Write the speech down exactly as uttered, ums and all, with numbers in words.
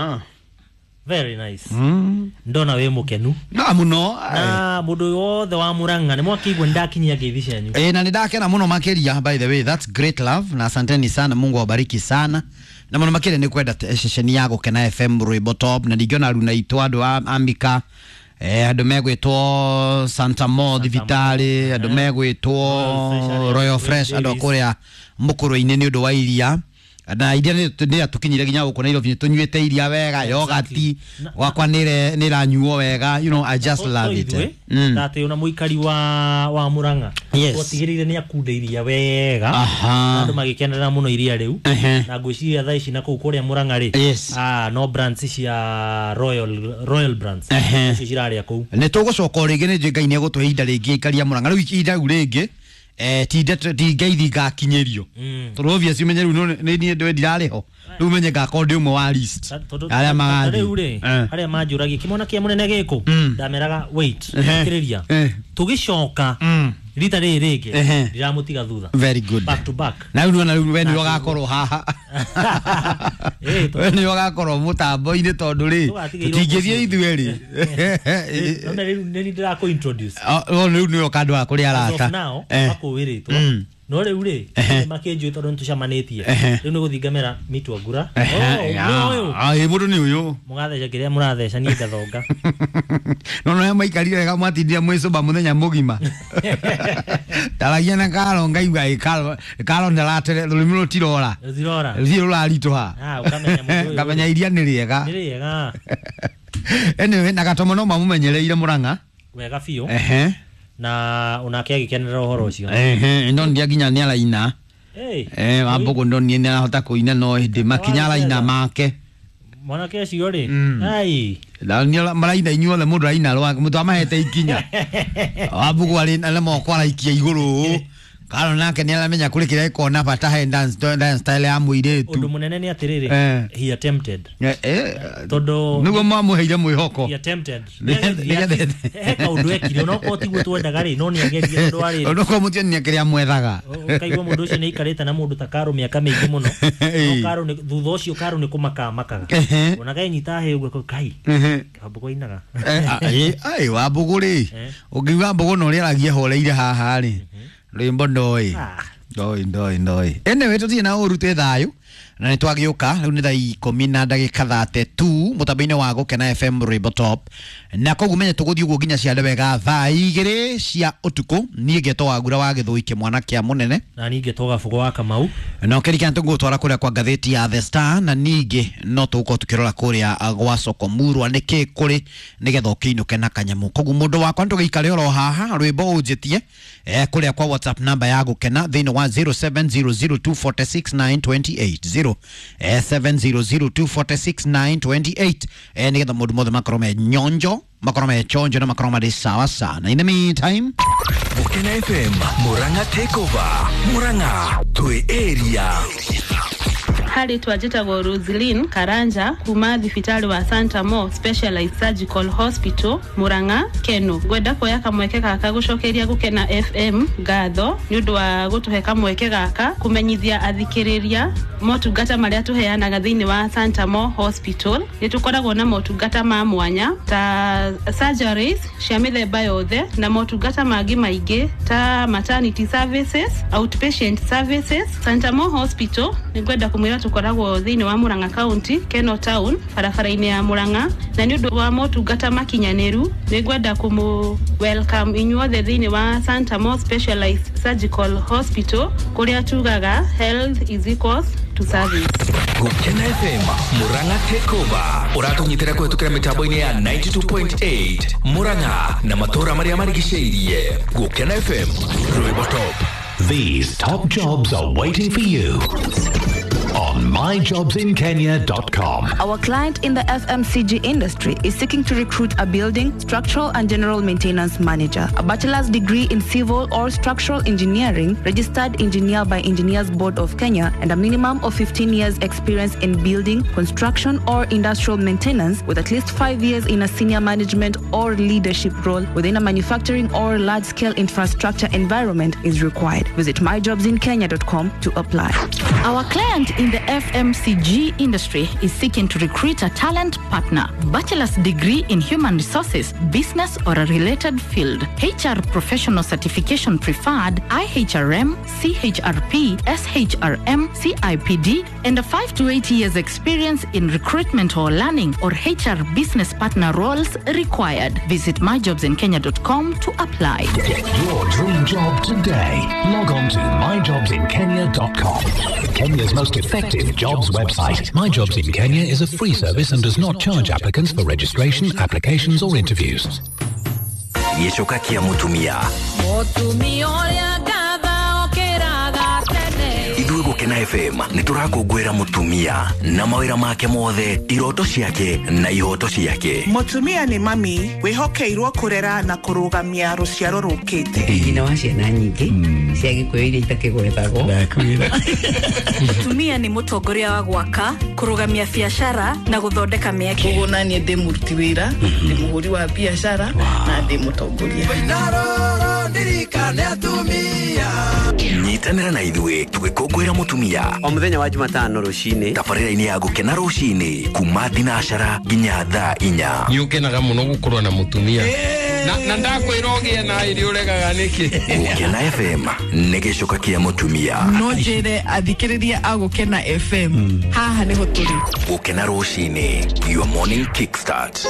Ah. Very nice. Mm. Ndona wĩ mũkenu. Na muno. Na mũndũ wothe wa Murang'a nĩ mwakĩigua nĩndakinyia ngeithi cianyu. Eh, na nĩndakena mũno makĩria, by the way, that's great love na asanteni sana, Mungu awabariki sana. Na mũno makĩria nĩ kwenda ceceni ya Gũkena F M rwĩmbo top, na ningĩona runa itũ andũ a Amika, eh, andũ megwĩtwo Santa Mo thibitarĩ, andũ megwĩtwo Royal Fresh, andũ a kũrĩa mũkũrũ-inĩ nĩ ũndũ wa iria. Na iria nĩ atukinyire nginya gũkũ Nairobi, tũnyuĩte iria wega, yogati gwakwa nĩ nĩranyuo wega, you know, I just love it. Ndatĩ ona mũikari wa wa Murang'a gwatigĩrĩire nĩ akunda iria wega, andũ magĩkenera mũno iria rĩu, na ngwĩciria thaa ici na kũu kũrĩa Murang'a rĩ, ah, no brands cia Royal Royal Brands icio cirarĩa kũu. Nĩ tũgũcoka o rĩngĩ, nĩ njũĩ Ngai nĩ egũtũhe ihinda rĩngĩ ikaria Murang'a rĩu ihinda rĩu rĩngĩ, eh, ti ndeto ti ngeithi ngakinyĩrio, tondũ obviously umenye rĩu nĩ niĩ ndĩ ndirarĩ ho, rĩu umenye ngakorwo ndĩ ũmwe wa list arĩa magathiĩ rĩu rĩ, arĩa manjũragia kĩmwana kĩa mũnene gĩkũ, ndameraga wait, thikĩrĩria, tũgĩcoka rita rĩrĩ rĩngĩ ndiramũtiga thutha. Very good. Back to back. Na rĩu nĩwona rĩu we nĩwe ũgakorwo haha, we nĩwe ũgakorwo mũtambo-inĩ, tondũ rĩ tũtingĩthiĩ ithuĩ rĩ, nona rĩu nĩ ndĩrakũ introduce, rĩu nĩwe ũkandwara kũrĩ arata makũwĩrĩtwo, no rĩu rĩ makĩnjũĩ tondũ nĩtũcemanĩtie, rĩu nĩ gũthiĩ ngamera mitwa ngura, ĩ mũndũ nĩ ũyũ mũgatheca kĩrĩa mũratheca, niĩ ngathonga. No no maikarire wega, mwatindire mwĩcũmba mũthenya mũgima, ndaragia na Karo ngaigua ĩ Karo Karo ndaratere rũrĩmĩ rũtirora rũtirora rũtirĩ rũraritũha, ngamenya iria nĩ rĩega nĩ rĩega. Anyway, na Gatomo no mamũmenyereire Murang'a wega biũ, na onake agĩkenera ũhoro ũcio. Ehe, no ndia nginya nĩ araina, eh, Wambũgũ no nĩ arahota kũina, no hĩndĩ makinya araina make mwanake ũcio rĩ, ai na nĩ maraina inyuothe, mũndũ araina rwake, mũndũ amahete ikinya, Wambũgũ arĩ na moko araikia igũrũ, Karo nake nĩ aramenya kũrĩ kĩrĩa gĩkoragwo na bata he dance dance style ya mũirĩtu. Ũndũ mũnene nĩ atĩrĩrĩ, he attempted, tondũ nĩguo mwamũheire mwĩhoko, he attempted, he kaũndũ ekire onokorwo tiguo twendaga rĩ, no nĩ ageririe, tondũ arĩ onokorwo mũtionire kĩrĩa mwethaga, ũkaigua mũndũ ũcio nĩ aikarĩte na mũndũ ta Karo mĩaka mĩingĩ mũno, no Karo nĩ thutha ũcio Karo nĩ kũmaka amakaga, ona kenyita hĩ ũguo kai Wambũgũ ainaga. Ai Wambũgũ rĩ, ũngiuga Wambũgũ na ũrĩa aragia horeire haha rĩ, rwĩmbo ndoĩ ndoĩ ndoĩ ndoĩ. Anyway, tũtirĩ na ũru, twĩ thayũ na nĩ twagĩũka rĩu nĩ thaa ikũmi na ndagĩka thate tu mũtambo-inĩ wa Gũkena F M rwĩmbo top, na koguo menye tũgũthiĩ ũguo nginya ciande wega thaa igĩrĩ cia ũtukũ. Niĩ ngetwo Wangura wa Gĩthũi kĩmwana kĩa mũnene, na niĩ ngetwo Gabũgũ wa Kamau, na ũkĩririkana tũgũgũtwara kũrĩa kwa ngathĩti ya The Star, na ningĩ no tũgũkorwo tũkĩrora kũrĩa gwa Soko Murwa nĩkĩ kũrĩ nĩgetha ũkĩinũke na kanyamũ. Koguo mũndũ wakwa nĩtũgĩikare oro haha rwĩmbo ũnjĩtie eh, kũrĩa kwa WhatsApp namba ya Gũkena thĩinĩ wa zero seven zero zero two four six nine two eight zero seven zero zero two four six nine two eight, eh, nĩgetha mũndũ mothe makorwo me nyonjo, makorwo me chonjo na makorwo marĩ sawa sana. In the meantime, Gũkena F M Murang'a takeover, Murang'a twĩ area. Harĩ twanjĩtagwo Roslyn Karanja kuma thibitarĩ wa Santa Mo Specialized Surgical Hospital Murang'a Keno. Ngwenda kuoya kamweke gaka gũcokeria Gũkena F M ngatho nĩ ũndũ wa gũtũhe kamweke gaka kũmenyithia athikĩrĩria motungata marĩa tũheanaga thĩinĩ wa Santa Mo Hospital. Nĩ tũkoragwo na motungata ma mwanya ta surgeries cia mĩthemba yothe na motungata mangĩ maingĩ ta maternity services, outpatient services. Santa Mo Hospital nĩ ngwenda kũmwĩra tũkoragwo thĩinĩ wa Murang'a County, Keno Town, barabara-inĩ ya Murang'a, na nĩ ũndũ wa motungata makinyanĩru nĩ ngwenda kũmũ welcome inyuothe thĩinĩ wa Santa Mo Specialized Surgical Hospital kũrĩa tugaga health is equals to service. Gũkena F M Murang'a takeover ũratũnyitĩra kũhetũkĩra mĩtambo-inĩ ya ninety two point eight Murang'a na matũũra marĩa marigicĩirie. Gũkena F M rwĩmbo top. These top jobs are waiting for you on my jobs in kenya dot com. Our client in the F M C G industry is seeking to recruit a building, structural and general maintenance manager, a bachelor's degree in civil or structural engineering, registered engineer by Engineers Board of Kenya, and a minimum of fifteen years experience in building, construction or industrial maintenance, with at least five years in a senior management or leadership role within a manufacturing or large-scale infrastructure environment is required. Visit my jobs in kenya dot com to apply. Our client in in the F M C G industry is seeking to recruit a talent partner. Bachelor's degree in human resources, business or a related field. H R professional certification preferred, I H R M, C H R P, S H R M, C I P D, and a five to eight years experience in recruitment or learning or H R business partner roles required. Visit my jobs in kenya dot com to apply. Get your dream job today. Log on to my jobs in kenya dot com. Kenya's most effective jobs website. My Jobs in Kenya is a free service and does not charge applicants for registration, applications or interviews. Gĩcoka kĩa mũtumia. Mũtumia ũrĩa ngatha okĩraga tene. Ithuĩ Gũkena F M nĩ tũrakũngũĩra mũtumia na mawĩra make mothe, iroto ciake na ihoto ciake. Mũtumia nĩ mami wĩhokeirwo kũrera na kũrũgamia rũciaro rũkĩte. Nyina wa ciana nyingĩ cia Gĩkũyũ iria itakĩgwetagwo. Mũtumia nĩ mũtongoria wa gwaka, kũrũgamia biacara na gũthondeka mĩeke. Koguo naniĩ ndĩ mũruti wĩra, ndĩ mũhũri wa biacara na ndĩ mũtongoria. Nyitanĩra na ithuĩ tũgĩkũngũĩra mũtumia o mũthenya wa Jumatano rũcinĩ tabarĩra-inĩ ya Gũkena rũcinĩ kuma thinacara nginya thaa inya. Nĩ ũkenaga mũno gũkorwo na mũtumia na na ndakwĩra ũgĩe na irio ũregaga nĩkĩ. Gũkena F M nĩ gĩcoka kĩa mũtumia. No njĩre athikĩrĩria a Gũkena F M haha nĩho tũrĩ. Gũkena rũcinĩ, your morning kickstart.